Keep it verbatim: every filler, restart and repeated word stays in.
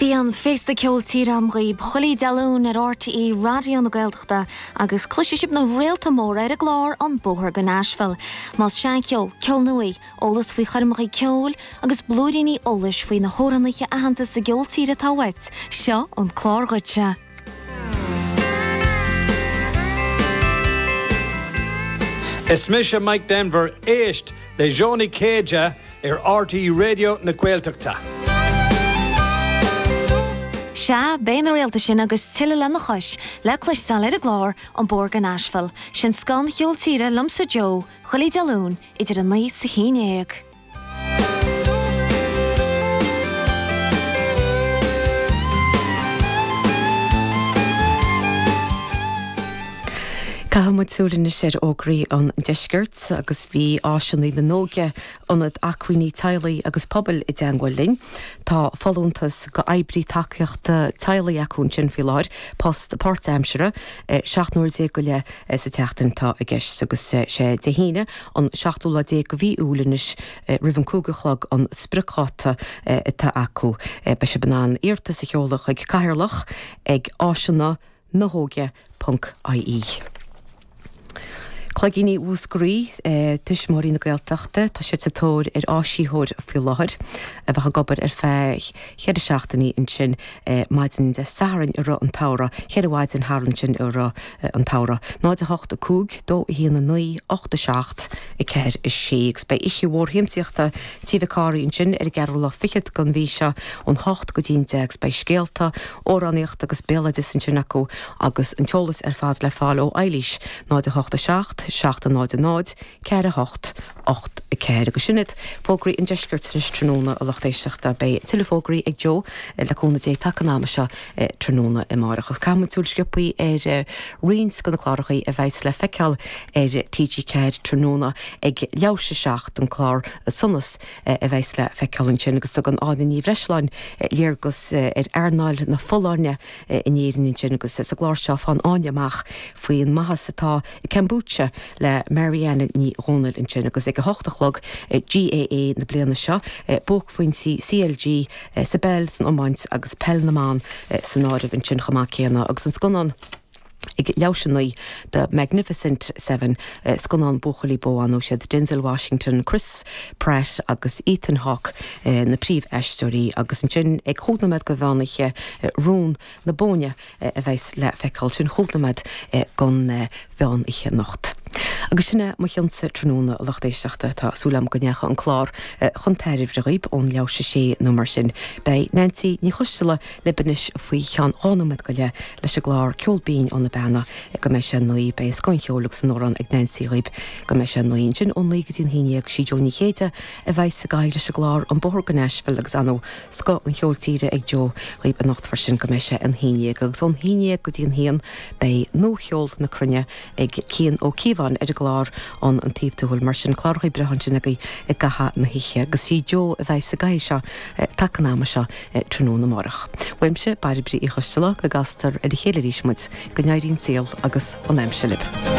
Bíonn féasta ceol tíre agam dhaoibh chuile Dé Luain ar RTÉ Raidió na Gaeltachta agus cloisfidh sibh na réalta móra ar an gclár an Bóthar go Nashville. Más seancheol, ceol nua, eolas faoi choirmeacha ceoil agus blúiríní eolais faoi na hamhránaithe aitheanta sa gceol tíre atá uait, seo an clár dhuitse. Is mise Mike Denver éist le Joe Ní Chéide ar RTÉ Raidió na Gaeltachta. Sea, beidh na réalta sin agus tuilleadh lena chois le cloisteáil ar an gclár an Bóthar go Nashville, sin scoth an cheoil tíre liomsa Joe, chuile Dé Luain idir a naoi is a haon déag. Caithfidh muid súil anois ar fhógraí an deiscirt agus bhí Áiseanna na nÓige, Ionad Acmhainní Teaghlaigh agus Pobail i dteangmháil linn. Tá folúntas go oibrí tacaíochta teaghlaigh acu ansin faoi láthair, post páirtaimseartha, seacht n-uair déag go leith sa tseachtain atá i gceist agus sé Dé hAoine an seachtú lá déag de mhí Iúil anois roimh an cúig a chlog an spriocdháta atá acu. Beidh sibh in ann iarratas a sheoladh chuig Cathaoirleach ag áiseanna na hóige ponc ie. Cloigíní Mhúscraí, Tuismitheoirí na Gaeltachta, tá siad sa tóir ar áisitheoir faoi láthair a bheadh ag obair ar feadh cheithre seachtainí ansin maidin Dé Sathairn i rith an tsamhraidh, cheithre mhaidin thar ansin i rith an tsamhraidh. Náid a hocht a cúig, dó a haon a naoi, ocht a seacht, a ceathair a sé. Agus beidh oíche mhór shiamsaíochta Tí Mhic Cárthaigh ansin ar an gceathrú lá fichead den mhí seo ón hocht go dtí an deich agus beidh scéalta, amhránaíocht agus béaloideas ansin acu agus an t-eolas ar fad le fáil ó Eilís, náid a hocht a seacht, seacht a náid a náid, ceathair a hocht, ocht a ceathair. Agus sin iad fógraí an deiscirt anois tráthnóna, a lucht éisteachta. Beidh tuilleadh fógraí ag Joe, le cúnamh Dé, taca an ama seo tráthnóna amárach. Agus caithfidh muid súil sciobthaí ar roinnt de na clárachaí a bheidhs le feiceáil ar T G ceathair tráthnóna ag leathuair tar éis a seacht, an clár Sonas a bheidhs le feiceáil ansin agus tugann Áine Ní Bhreisleáin léargas ar earnáil na folláine in Éirinn ansin agus sa gclár seo faigheann Áine amach faoin maitheas atá i kombucha le Marianne Ní Dhomhnaill ansin agus ag a hocht a chlog G A A na bliana seo, buaicphointí C L G sa bpeil, san iomáint agus peil na mban san áireamh ansin chomh maith céanna agus an scannán ag leathuair tar éis a naoi The Magnificent Seven, scannán buachaillí bó ann, siad Denzel Washington, Chris Pratt agus Ethan Hawke na príomhaisteoirí agus ansin ag chúig nóiméad go mheán oíche Rún na Bóinne a bheas le feiceáil, sin chúig nóiméad don mheán oíche anocht. Agus sin é mo chionsa tráthnóna, a lucht éisteachta. Tá súil agam go ndeachaigh an clár chun tairbhe dhaoib ón leathuair tar éis a sé nó mar sin. Beidh Nancy Ní Choisteala libh anois faoi cheann dhá nóiméad go leith leis an gclár Ceol Binn ó na Beanna go mbeidh sé a naoi. Beidh scoth an cheoil agus an amhrán ag Nancy dhaoib go mbeidh sé a naoi. Ansin ón naoi go dtí an haon dhéag sí Joe Ní Chéide a bheidh sa gcathaoir leis an gclár An Bóthar go Nashville agus ar ndóigh scoth an cheoil tíre ag Joe dhaoib anocht freisin go mbeidh sé an haon dhéag. Agus ón haon dhéag go dtí an haon beidh Nuacheol na Cruinne ag Cian Ó Cíobháin ar an gclár An Taobh Tuathail. Mar sin clárachaí breátha ansin agaibh i gcaitheamh na hoíche. Agus sí Joe a bheidh sa gcathaoir seo taca an ama seo tráthnóna amárach. Uaimse, Bairbre Uí Choisteala, go gcastar ar a chéile arís muid, go n-éirí an saol agus an aimsir libh.